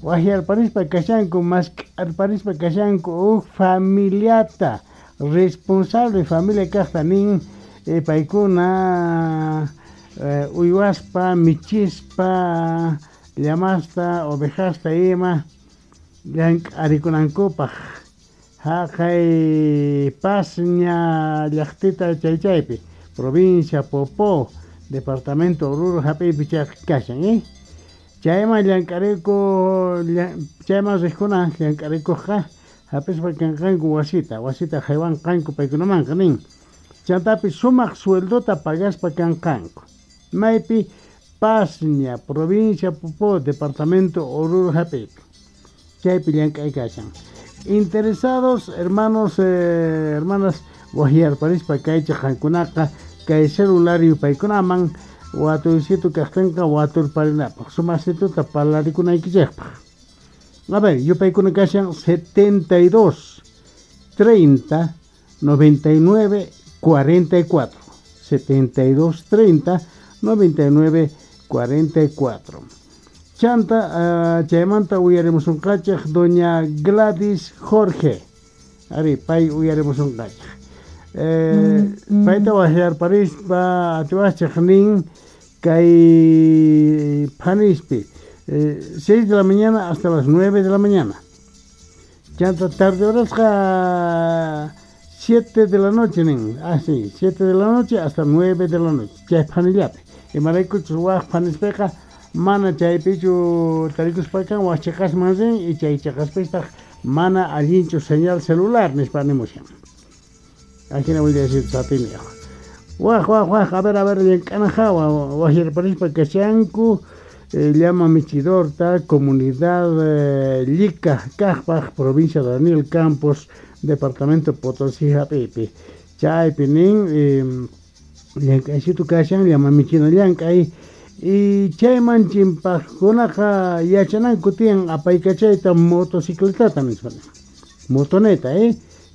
Waqyarparispa kashanku, mask'arparispa kashanku huk familiata, responsable familia kaqta nin, paykuna uywaspa, michispa, llamasta, ovejasta ima llank'arikunankupaq haqay Pasña llaqtita chaychaypi, provincia Popó, departamento Oruro hap'iypi chayqa kashan, Chayman llank'ariku, chayman riqkuna llank'arikuqqa hap'ispa kanqanku wasita, wasita haywanqanku paykunamanqa nin. Chantapis sumaq sueldota pagaspa kanqanku. Maypi? Pasña, provincia Popó, departamento Oruro hap'iypi. Chaypi llank'ay kashan. Interesados, hermanos, hermanas, waqyarparispa kaychaq qankunaqa kay celular yupaykunaman watuysitu kaqtinqa waturparinapaq, sumasituta parlarikunaykichikpaq. A ver, yupaykuna kashan 72 30 99 44, 72 30 99 44. Chanta, chaymanta uyarimusunqachik doña Gladys Jorge. Ari, pay uyarimusunqachik. Payta waqyarparispa atiwachik nin kay phanispi 6 de la mañana hasta las 9 de la mañana. Chanta tarde horasqa 7 de la noche nin. Ah, sí, 7 de la noche hasta 9 de la noche. Chay phanillapi. Imaraykuchus waq phanispiqa mana chaypichu tarikuspa kan waq chiqasman rin y chay chiqaspistaq mana allinchu señal celular nispa nimushan. Ajina willasita satini. Waq waq waq, a ver, llank'ana hawa waqyarparispa kashanku llama michidorta, comunidad Llica, Kaqpaq, provincia Daniel Campos, departamento Potosí hap'iypi. Chaypi nin llank'aysitu kashan llama michina llank'ay y chayman chimpaqkunaqa yachananku tiyan apaykachayta motocicletata nispa. Motoneta,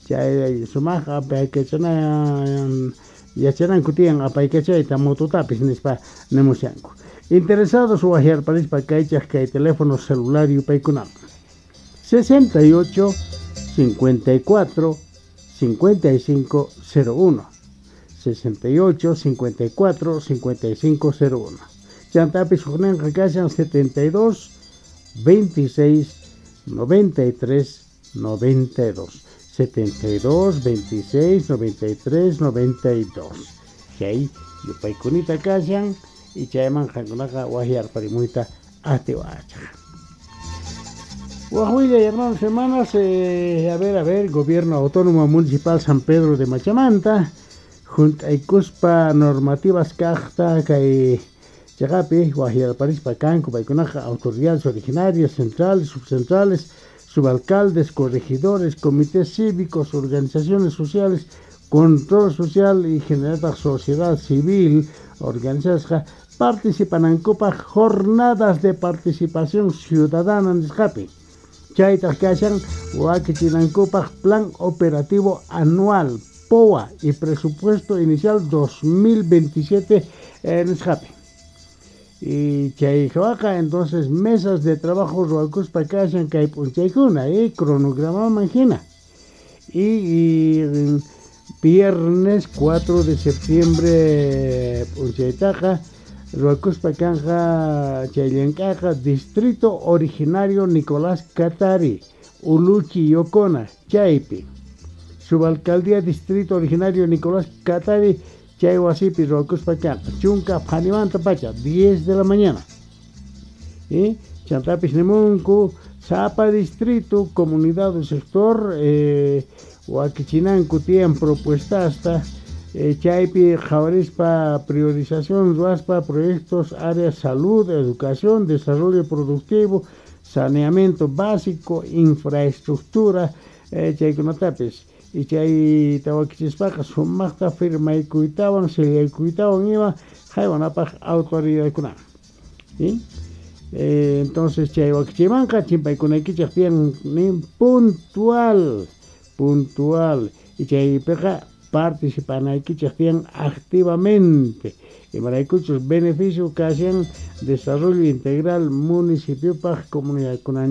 chay sumaq apaykachana yachananku tiyan apaykachayta mototapis nispa nimushanku. Interesados waqyarparispa kaychaq kay teléfono celular yupaykunaman 68 54 55 01, 68 54 55 01. Chantapis hukninqa kashan 72 26 93 92, 72 26 93 92. Chay yupaykunita kashan y chayman qankunaqa waqyarparimuyta atiwachaq. Waqwilla, hermanos, hermanas, a ver, Gobierno Autónomo Municipal San Pedro de Machamanta, juntaykuspa normativas kaqta kay chaqapi waqyarparispa kanku paykunaqa autoridades originarias, centrales, subcentrales, subalcaldes, corregidores, comités cívicos, organizaciones sociales, control social y general sociedad civil organizadas participanankupaq jornadas de participación ciudadana nisqapi. Chaytaq kashan wakichinankupaq plan operativo anual POA y presupuesto inicial 2027 nisqapi. Y chay hawaqa entonces mesas de trabajo ruwakuspa kashan kay p'unchaykuna, cronogramaman hina. Y viernes 4 de septiembre p'unchaytaqa ruwakuspa kanja chay llank'aqa Distrito Originario Nicolás Catari, Uluchi Yocona, chaypi. Subalcaldía Distrito Originario Nicolás Catari, chay wasipi ruwakuspa kanja chunka phanimanta pacha, 10 de la mañana. Chantapis nimunku sapa distrito, comunidad o sector, wakichinanku tiyan propuestasta, chaypi qhawarispa priorización ruwaspa proyectos área salud, educación, desarrollo productivo, saneamiento básico, infraestructura, chaykunatapis. Y chayta wakichispaqa sumaqta firmaykuytawan sillaykuytawan ima haywanapaq autoridadkunaman. ¿Sí? Entonces chay wakichimanqa chimpaykunaykichaq tiyan nin puntual, puntual. Y chaypiqa participanaykichaq tiyan activamente. Imaraykuchus beneficio kashan desarrollo integral municipiopaq comunidadkunan.